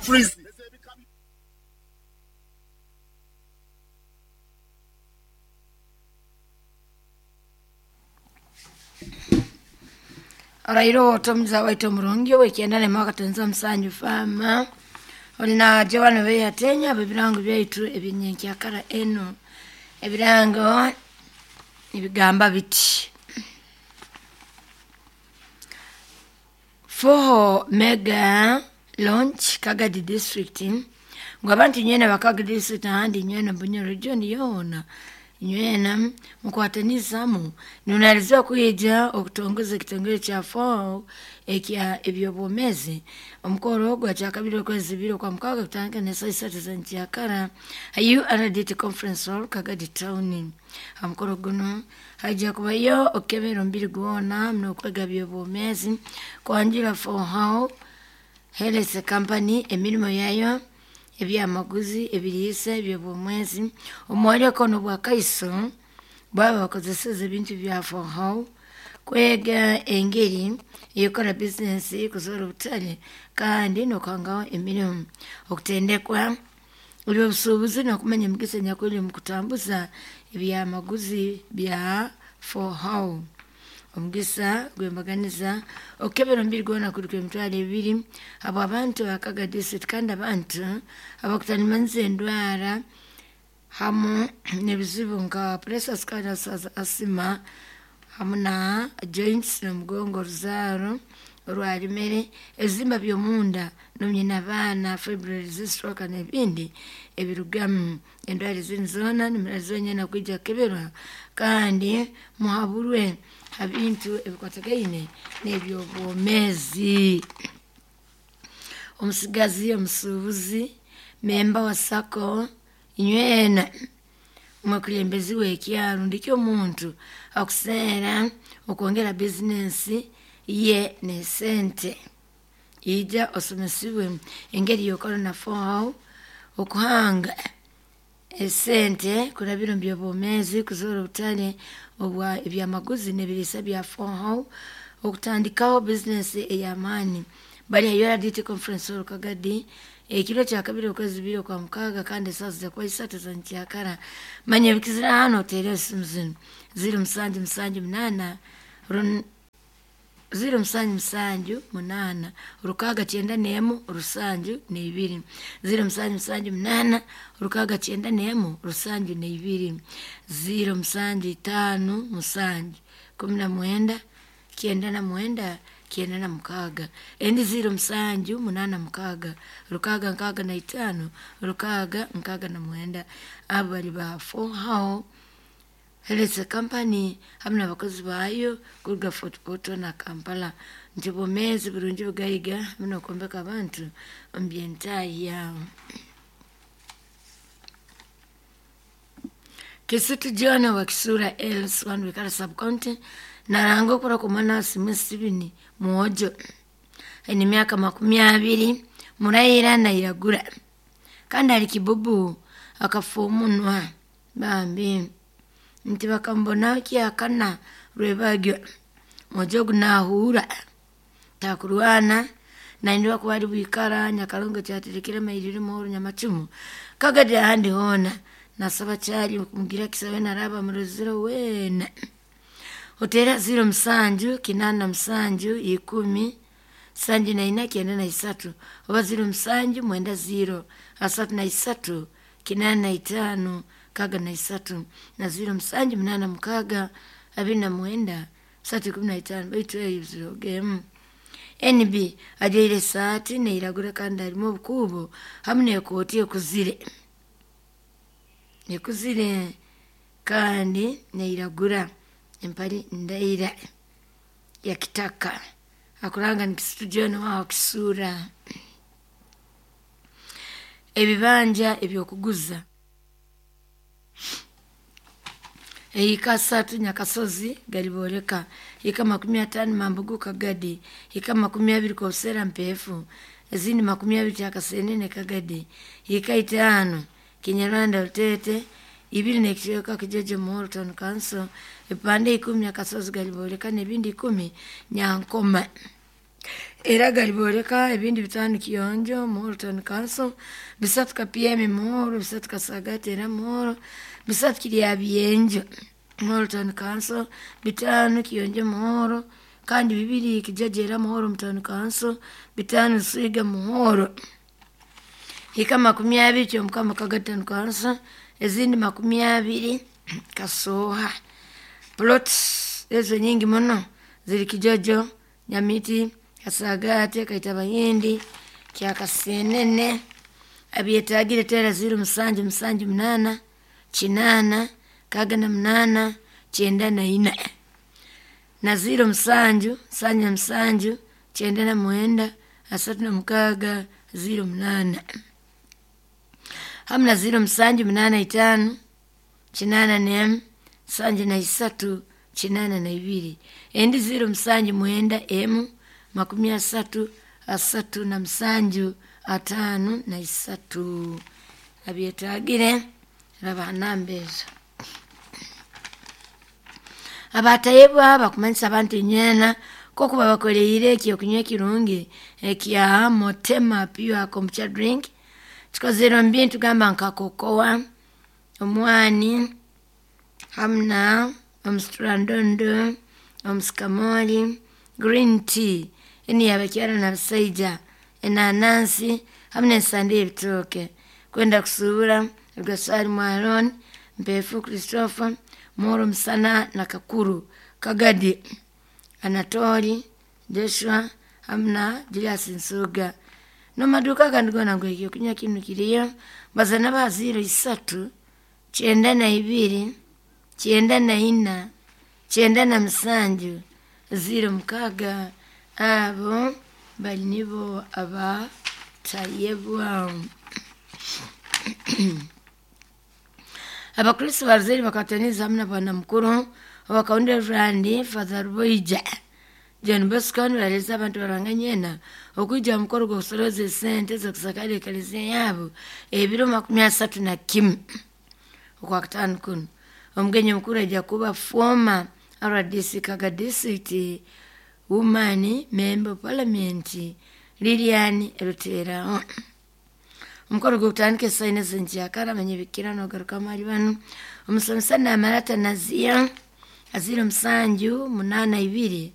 Ministries. Orairo otomuza waitu omurungi owekyenda nemwaka musanju fama olina Joan Beyatenya ebirango byaitu ebyenyenkyakara eno ebirango nibigamba biti Foho Mega Launch Kagadi District ngu abantu nywena bakagadi district ahandi nywena Bunyoro region yoona nywena mukwatanizamu nunaliziwa kwija okutongoza ekitongole kya Foho ekya ebyobwomezi omukoro ogwo kyakabiri okwezi bibiri okwa mukaaga kutandika n'esaaha isatu z'enkyakara ha URDT Conference Hall Kagadi Town. Ha mukoro guno haija kubayo okukebera omubiri gwona n'okwega byobwomezi kwanjura Foho Health Company emirimo yayo ebyamaguzi ebiriisa ebyobwomezi omworeko n'obwakaiso bwaba bakozeseze ebintu bya Foho kwega engeri eyokora bizinesi kuzoora obutare kandi n'okuhangaho emirimo okutendekwa ebyobusuubuzi n'okumanya emigisa enyakuli omu kutambuza ebyamaguzi bya Foho. Omugisa gwembaganiza okukebera omubiri gwona kuri kw'emitwaro ebiri habw'abantu ba Kagadi District kandi abantu abakutanimanyiza endwara hamu n'ebizibu nka pressure, sukari, asima hamu na joints n'omugongo oruzaaro orwarimere ebizimba by'omunda n'omyina abaana fibroids, stroke n'ebindi ebirugamu endwara ezindi zoona nimuraziwa nywena kwija kukeberwa kandi muhaburwe ha bintu ebikwatagaine n'ebyobwomezi. Omusigazi omusuubuzi memba wa SACCO nywena omukulembezi w'ekyaro ndikyo omuntu akuseera okwongera bizinesi ye n'esente ija osomesibwe engeri y'okora na Foho okuhanga esente kurabira omu byobwomezi kuzoora obutare obwa ebyamaguzi n'ebiriisa bya Foho okutandikaho bizinesi ey'amaani bari ha URDT Conference Hall Kagadi ekiro kyakabiri okwezi bibiri okwa mukaaga kandi esaaha zijja kuba isatu z'enkyakara manya ebikizira hano oteere esimu zinu 0778 0778 691 72 0778 691 72 0757 19 99 96 endi 0786 665 669 abo bali ba Foho Health Company hamu n'abakozi baayo kuruga Fort Portal na Kampala nti bwomeezi burungi bugaiga hamu n'okwombeka abantu omu byentahya. Kisitu John wa Kisura Els Wikara Sub-County naranga okura kw'omwana wa Simu Steven Mwojo aine emyaka 20 muraira nairagura kandi ali kibubu akafa omunwa bambi nti bakamubona kyakana rwebagyo. Mwojo ogu nahuura takurwana naindiwa kuba ari bwikara Nyakarongo kyaterekire amairire muhoro Nyamacumu Kagadi ahandi hoona nasaba kyali kumugira kisabe naraba murozire weena otera 07 87 10 74 93 oba 07 90 33 85 63 na 07 86 29 315 baitu eyo zirogemu. NB ajaire esaati neiragura kandi harimu obukuubo hamu n'ekooti ekuzire ekuzire kandi neiragura empali ndaira ya kitaka akuranga ni Kisitu John waho Kisura. Ebibanja ebyokuguza Ehika 3 Nyakasozi galiboreka hika 50 Mambugu Kagadi hika 20 Kosera Mpefu ezindi 20 Kyakasenene Kagadi hika 5 Kinyarwanda Rutete ibiri n'ekicweka Kijeje Muhoro Town Council ebipande 10 Nyakasozi galiboreka n'ebindi 10 Nyankoma. Era galibooleka ebindi 5 Kiyonjo, Muhoro Town Council, 3 Kapyemi Muhoro, 3 Kasagati era Muhoro, 3 Kiryabyenjo Muhoro Town Council, 5 Kiyonjo Muhoro, kandi 2 Kijaja era Muhoro Town Council, 5 Swiga Muhoro. Hika 20 Kyomukama Kagadi Town Council, ezindi 20 Kasoha. Plots ezo nyingi muno ziri Kijojo, Nyamiti, Kasagate, Kaitabahindi, Kyakasenene. Abyetagire tera 0 7 7 8 8 68 94 na 0 7 7 7 99 36 08 hamna 0 7 8 5 8 73 82 endi 0 7 9 M 30 37 53. Abyetagire raba namba ezo. Abatayebwa bakumanyisa abantu enywena kokuba bakoleire ekyokunywa ekirungi ekya Motema Pure Kombucha Drink. Kikozere omu bintu gamba nka kokoa, omwani, hamna omusitrandondo, omusikamoli, green tea, eni yabakyara n'abasaija, enanansi, hamwe n'ensande y'ebitooke. Kwenda kusuubura Rwasaali Mwaloni, Mpefu Christopher, Muhoro Musana na Kakuru, Kagadi, Anatoli, Joshua, hamwe na Julius Nsuga. N'omu gandi goona ngu ekyokunywa kinu kiriyo, bazana ba 0 3 92 94 97 06. Abo bali nibo abatayebwa. Abakristo barzeri bakataniza hamwe na bwana mukuru abakaunda Rwandi Father Boija John Bosco bareza abantu baranganyena okuija mukoro gw'okusoroza esente z'okusakara eklezia yabo ebiro 31 okwa 5 kuno. Omugenyi mukuru ajja kuba former RDC Kaga District Woman Member of Parliament Lilian Rutera. Omukoro gw'okutandika esaina zenkyakara amanyibikira nogaruka mali bano omusomesa Namarata Nazia aziro 7 8 2